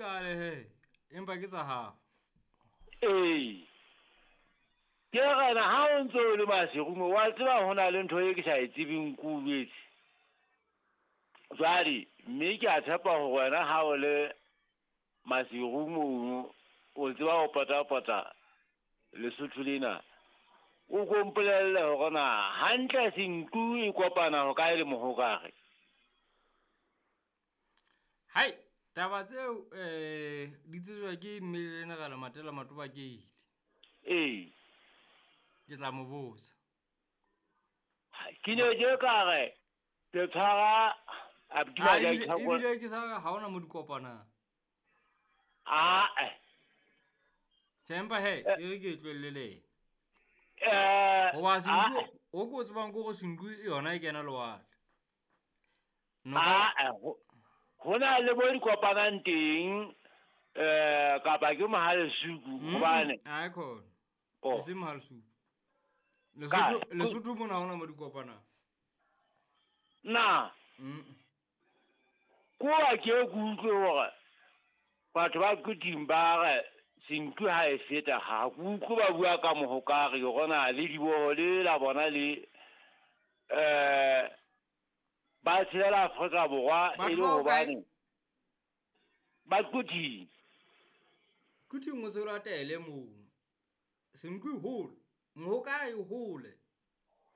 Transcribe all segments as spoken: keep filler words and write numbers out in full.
qale he empa ke tsa hao. Ee. Ke rena ha o ntse o le Maseru mo wa tseba ho na le ntho e ke sa e tsebeng ko jwetse. Jwale mme ke a tshepa hore wena ha o le Maseru mono o tseba ho pota-pota Lesotho lena. O ko mpolelle hore na hantle Senqu e kopana ho kae le Mohokare? Hai, taba tseo eh di tsejwa ke Mmelenegela Matela Matoba ke ile. Ee. Ke tla mo botsa. Ke ne ke ka re ke tshwara Abdullah Ah, ja ebile itlhako- ebile ke sa re ha hona mo di kopanang. Ah, eh. Tjhe, empa he, e re ke e tlohelle le yena. Eh, Hoba Senqu, ah, o ko tsebang ke hore Senqu yona e kena lewatle. Noka ah, eh, ho ho na le mo di kopanang teng eh kapa ke Mohalesuku Mm, hobane ha e khona. Oh. E seng Mohalesuku. Ka- Lesotho Lesotho mona ha hona mo di kopanang. Na Mm. ko wa ke ke utlwe hore batho ba Quthing ba re Senqu ha e feta ha ke utlwe ba bua ka Mohokare hore na le diboho le la bona le eh ba tshelela Afrika Borwa e Batho le ba hokae? hobane ba Quthing. Quthing o se o latele moo. Senqu e hole. Mohokare e hole.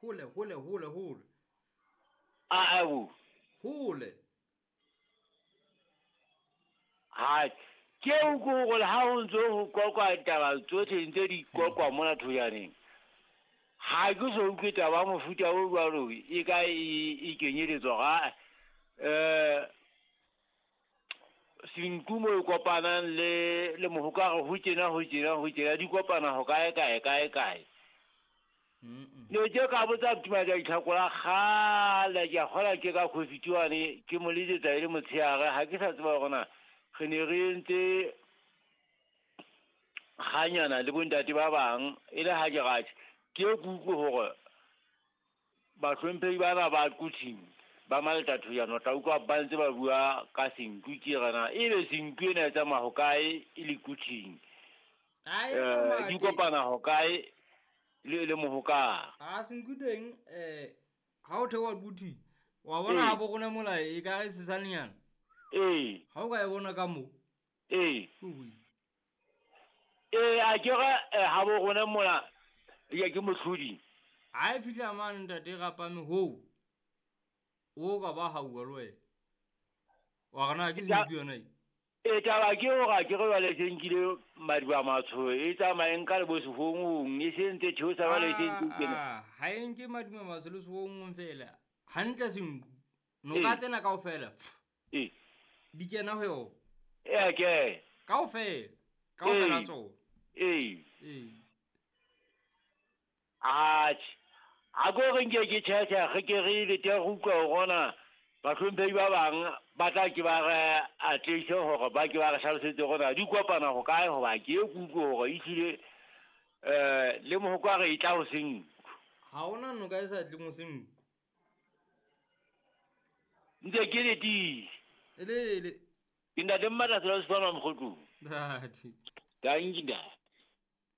Hole, hole, hole, hole. A a bo. Hole. Ha ke o ko hore ha ho ntso ho qoqwa ditaba tsohle ntse di qoqwa mona thojaneng. Ha ke so utlwe taba ya mofuta o jwalo e ka e, e kenyeletswa ga eh Senqu mo e kopanang le le Mohokare ho tjena ho tjena ho tjena di kopana ho kae kae kae kae. Mm. Ne ke ka botsa Tumadi Itlhakola kgale ke a kgola ke ka COVID wane ke mo letsetsa e le motshehare ha ke sa tseba hore na re ne re entse kganyana le bontate ba bang e le ha ke ratjhe ke ke utlwe hore bahlomphehi bana ba Quthing ba Maletathojana o tla utlwa ba ntse ba bua ka Senqu ke re na ebe Senqu ena e tsamaya ho kae e le Quthing. Ha e Eh, tsamaya di teng. kopana ho kae le le Mohokare. Ha Senqu teng eh ha o theoha Quthing wa bona Ee. ha bo rona mola e ka re sesanenyana. Ee. Ha o ka e bona ka moo. Ee. Ui. Ee, a ke re eh, ha bo rona mola ya ke mohlodi. Ha e fihla mane ntate rapame hoo. O ka ba hauwa le wena. Wa re na ke Ja- Senqu yona e. E taba ke hore ha ke re jwale se nkile madiba matsho e tsamaye nka le bo sehongong e se ntse theosa jwale e se ntse kena. Ah, ha e nke madiba matsho le sehongong fela. Hantle Senqu. Noka Ee. tsena kaofela. Ee. Di kena ho yona. Ee, ke. Kaofela. Kaofela Ee. tsona. Ee. Ee. Atjhe. A ko re nke ke tjhetjha re ke re le teng re utlwa hore na bahlomphehi ba bang ba tla ke ba re atlehise hore ba ke ba re hlalosetse hore na di kopana ho kae hoba ke e ke utlwe hore ehlile eh le Mohokare e tla ho Senqu. Ha hona noka e sa tleng ho Senqu. Ntse ke letile. E le le. Ke ntate Mmatla Sela Sefana Mokgotlong. Ntate. Dankie ntate.